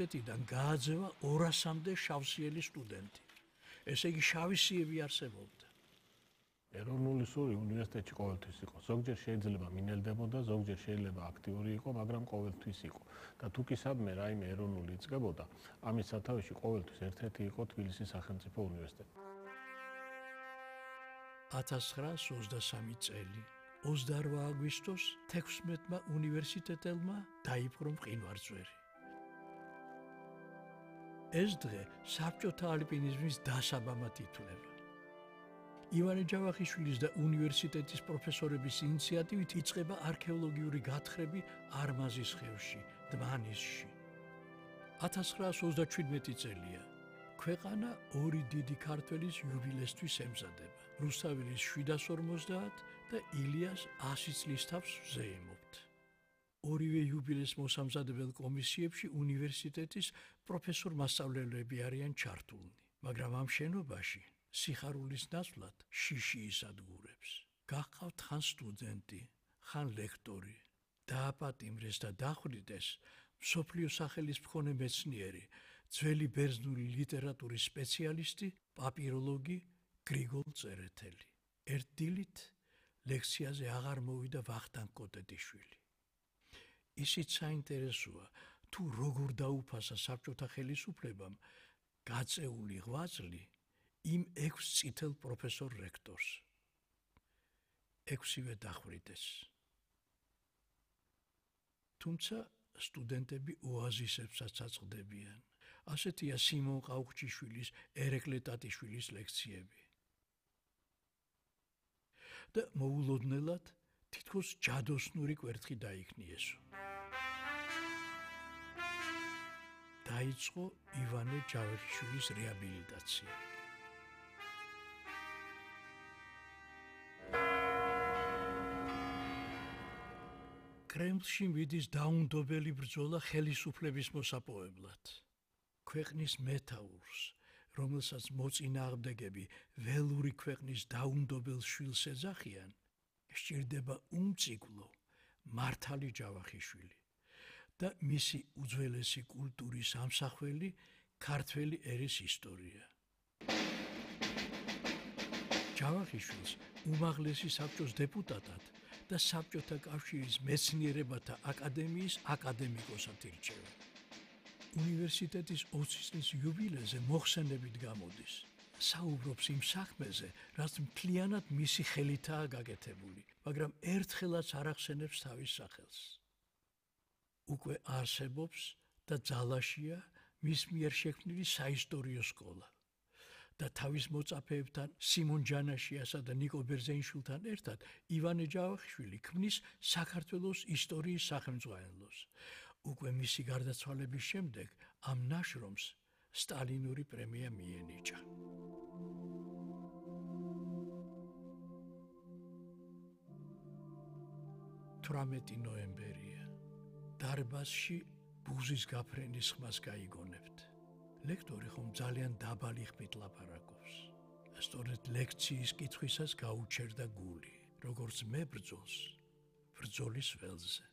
ეთიდან გააძევა 200-მდე შავსიელი სტუდენტი. ესე იგი შავისიები არსებობდა. ეროვნული სური უნივერსიტეტში ყოველთვის იყო. ზოგჯერ შეიძლება მინელდებოდა, ზოგჯერ შეიძლება აქტიური იყო, მაგრამ ყოველთვის იყო. და თუ კი სადმე რაიმე ეროვნული იწყებოდა, ამის სათავეში ყოველთვის ერთ-ერთი იყო თბილისის სახელმწიფო უნივერსიტეტი. 1923 წელი 28 აგვისტოს 16-მა უნივერსიტეტელმა დაიპყრო მყინვარწვერი. ეს დღე საბჭოთა ალპინიზმის დასაბამად ითვლება. ივანე ჯავახიშვილის და უნივერსიტეტის პროფესორების ინიციატივით იწყება არქეოლოგიური გათხრები არმაზის ხევში, დმანისში. 1937 წელია. ქვეყანა ორი დიდი ქართველის იუბილესთვის ემზადება. რუსთაველის 750 და ილიას 100 წლის თავს ვზეიმობთ. ორივე იუბილეს მოსამზადებელ კომისიებში უნივერსიტეტის პროფესორ-მასწავლებლები არიან ჩართულნი, მაგრამ ამ შენობაში სიხარულის ნაცვლად შიში ისადგურებს. გაჰყავთ ხან სტუდენტი, ხან ლექტორი. დააპატიმრეს და დახვრიტეს მსოფლიო სახელის მქონე მეცნიერი, ძველი ბერძნული ლიტერატურის სპეციალისტი, პაპიროლოგი გრიგოლ წერეთელი. ერთ დილით ლექციაზე აღარ მოვიდა ვახტანგ კოტეტიშვილი. ისიც საინტერესოა, თუ როგორ დაუფასა საბჭოთა ხელისუფლებამ გაწეული ღვაწლი იმ 6 წითელ პროფესორ რექტორს. 6-ვე დახვრიტეს. თუმცა სტუდენტები ოაზისებსაც აწყდებიან. ასეთია სიმონ ყაუხჩიშვილის, ერეკლე ტატიშვილის ლექციები. და მოულოდნელად თითქოს ჯადოსნური კვერთხი დაიქნიესო. დაიწყო ივანე ჯავახიშვილის რეაბილიტაცია. კრემლში მიდის დაუნდობელი ბრძოლა ხელისუფლების მოსაპოვებლად. ქვეყნის მეთაურს, რომელსაც მოწინააღმდეგები ველური ქვეყნის დაუნდობელ შვილს ეძახიან, სჭირდება უმციკლო მართალი ჯავახიშვილი და მისი უძველესი კულტურის ამსახველი ქართველი ერის ისტორია. ჯავახიშვილს უმაღლესი საბჭოს დეპუტატად და საბჭოთა კავშირის მეცნიერებათა აკადემიის აკადემიკოსად ირჩევენ. უნივერსიტეტის 20 წლის იუბილეზე მოხსენებით გამოდის. საუბრობს იმ საქმეზე, რაც მთლიანად მისი ხელითაა გაკეთებული, მაგრამ ერთხელაც არ ახსენებს თავის სახელს. უკვე არსებობს და ძალაშია მის მიერ შექმნილი საისტორიო სკოლა. და თავის მოწაფეებთან სიმონ ჯანაშიასა და ნიკო ბერძენიშვილთან ერთად ივანე ჯავახიშვილი ქმნის საქართველოს ისტორიის სახელმძღვანელოს. უკვე მისი გარდაცვალების შემდეგ ამ ნაშრომს სტალინური პრემია მიენიჭა. 18 ნოემბერია. დარბაზში ბუზის გაფრენის ხმას გაიგონებთ. ლექტორი ხომ ძალიან დაბალი ხმით ლაპარაკობს. სწორედ ლექციის კითხვისას გაუჩერდა გული, როგორც მე ბრძოლს, ბრძოლის ველზე.